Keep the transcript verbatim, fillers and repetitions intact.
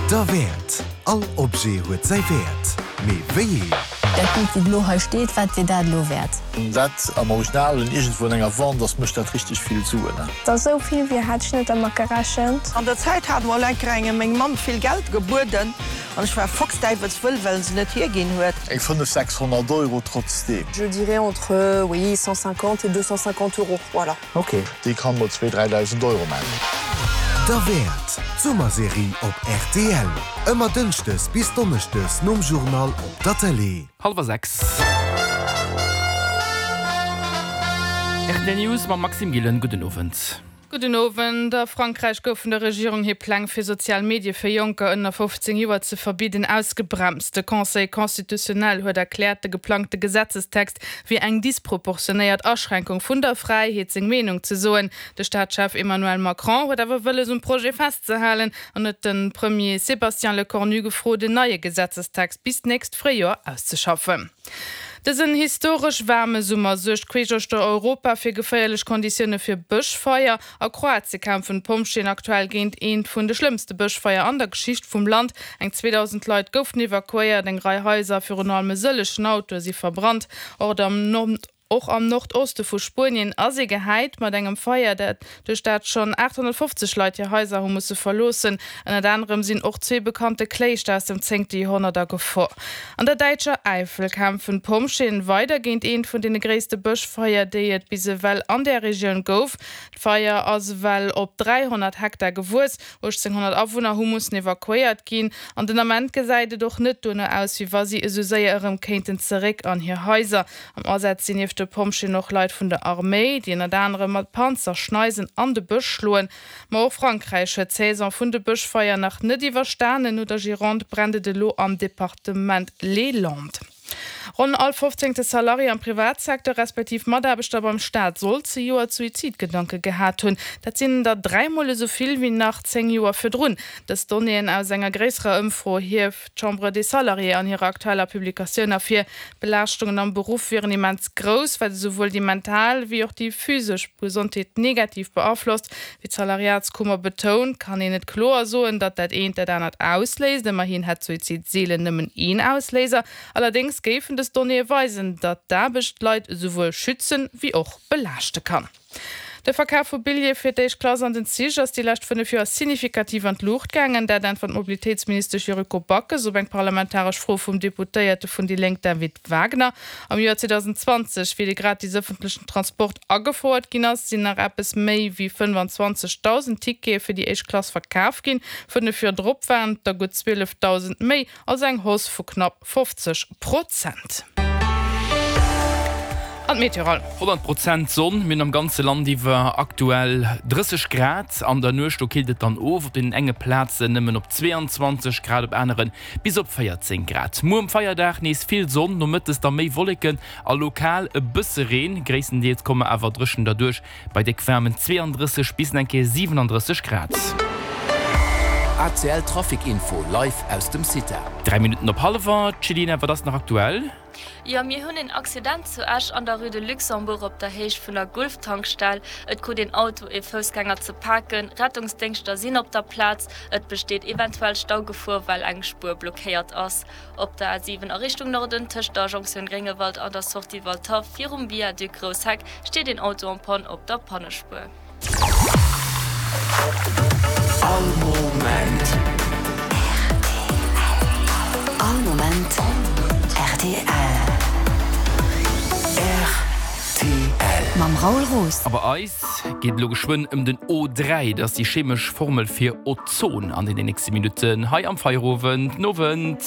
Derwäert. All Objet huet säi Wäert. Mee wéi een? Dat Bild, wat elo hei steet, wat wier dat elo wäert? Dat am Original an iergendwou an enger Wand ass, mécht dat richteg vill Suen. Dat ass esou vill, wéi hat ech net dermat gerechent. An der Zäit hat mol eng Kéier eng meng Mamm vill Geld gebueden an ech war foxdäiwelswëll, well se net hierginn huet. Eng fënnef, sechshonnert Euro trotzdeem. Je dirais entre, oui, cent cinquante et deux cent cinquante euros, voilà. Ok. Déi kann mol zwee, dräidausend Euro maachen. Derwäert, d'Summerserie op rtl. Ëmmer dënschdes bis donneschdes nom Journal op der Tëlee. Hallwer sechs. Rtl News mam Maxime Gillen. Gudden Owend. Gudden Owend. A Frankräich goufen der Regierung hir Pläng fir sozial Medie fir Jonker ënner fofzéng Joer ze verbidden ausgebremst. De Conseil constitutionnel huet erkläert, de geplangte Gesetzestext wier eng disproportionéiert Aschränkung vun der Fräiheet seng Meenung ze soen. De Staatschef Emmanuel Macron huet awer wëlles um Projet festzehalen an huet de Premier Sébastien Lecornu gefrot en neie Gesetzestext bis d'nächst Fréijoer auszeschaffen. Dësen historesch waarme Summer suergt queesch uechter Europa fir geféierlech Konditioune fir Bëschfeier. A Kroatie kämpfen d'Pompjeeën aktuell géint eent vun de schlëmmste Bëschfeier an der Geschicht vum Land. Eng zweedausend Leit goufen evakuéiert, eng Rei Haiser a virun allem e sëllechen Autoe si verbrannt. Och am Och am Nordoste vu Spuenien ass ee gehäit mat engem Feier, dat duerch dat schonn aathonnertfofzeg Leit hir Haiser hu musse verloossen. Ënnert anerem sinn och zwee bekannte Kléischter aus dem zéngte Joerhonnert a Gefor. An der däitscher Äifel kämpfen d'Pompjeeën weider géint eent vun deene gréisste Bëschfeier, déi et bis ewell an där Regioun gouf. D'Feier ass ewell op dräihonnert Hektar gewuess. uechtzénghonnert Awunner hu mussen evakuéiert ginn an den Ament gesäit et och net dono aus, wéi wa si esou séier erëm kéinten zeréck an hir Haiser. Am Asaz sinn nieft de Pompjeeën och Leit vun der Arméi, déi ënnert anerem mat Panzerschneisen an de Bësch schloen. Ma och Frankräich huet d'Saison vun de Bëschfeier nach net iwwerstanen. No der Gironde brennt et elo am Departement Les Landes. Ronn all fofzéngte Salarié am Privatsecteur, respektiv Mataarbechter beim Staat soll zejoert Suizidgedanke gehat hunn. Dat sinn der dräi Mol esou vill wéi nach zéng Joer virdrun. Dës Donnéeën aus enger gréisserer Ëmfro hieft d'Chambre des Salariés an hirer aktueller Publikatioun ervir. D'Belaaschtungen am Beruff wieren immens grouss, wat esouwuel déi mental wéi och déi physesch Gesondheet negativ beaflosst. Wéi d'Salariatskummer betount, kann een net kloer soen, datt dat eent dat anert ausléist. Ëmmerhin hätt Suizid seelen nëmmen een Ausléiser. Allerdéngs géifen dës Donnéeë weisen, datt d'Aarbecht d'Leit esouwuel schützen, wéi och belaaschte kann. De Verkaf vu Billjeeë fir d'éischt Klass an den Zich ass déi lescht fënnef Joer signifikativ an d'Luucht gaangen. Dat äntwert d'Mobilitéitsministesch Yuriko Backes op eng parlamentaresch Fro vum Deputéierte vun déi Lénk David Wagner. Am Joer zweedausendzwanzeg, wéi de gratis ëffentlechen Transport agefouert ginn ass, sinn nach eppes méi wéi fënnfanzwanzegdausend Tickete fir déi éischt Klass verkaf ginn. Fënnef Joer drop waren et der gutt zwielefdausend méi, also eng Hausse vu knapp fofzeg Prozent. An d'Meteorol. Honnert Prozent Sonn, mir hunn am ganze Land iwwer aktuell drësseg Grad. An der Nuecht do killt et dann of, op deenen enge Plazen nëmmen op zweeanzwanzeg Grad, op anere bis op véierzéng Grad. Muer um Feierdag nees vill Sonn, nomëttes da méi Wolleken a lokal e bësse Reen. Gréisstendeels komme mer awer dréchen derduerch bei déck waarmen zweeandrësseg bis eng Kéier siwenandrësseg Grad. A C L Trafic Info live aus dem CITA. Dräi Minutten op hallwer, Céline, wat ass nach aktuell? Jo, mir hunn een Accident zu Esch an der Rue de Luxembourg op der Héicht vun der Gulf-Tankstell. Et krut een Auto ee Foussgänger ze paken. Rettungsdéngschter sinn op der Plaz. Et besteet eventuell Staugefor, well eng Spuer blockéiert ass. Op der A siwen a Richtung Norden, tëscht der Jonktioun Gréngewald an der Sortie Waldhaff virum Viaduc Groussheck, steet een Auto en panne op der Pannespuer. All Moment. All Moment rtl. Rtl. Mam Raoul Roos. A bei eis geet et elo geschwënn ëm den O dräi, dat ass déi chemesch Formel fir Ozon, an deenen nächste Minutten hei am Feierowend. N'Owend.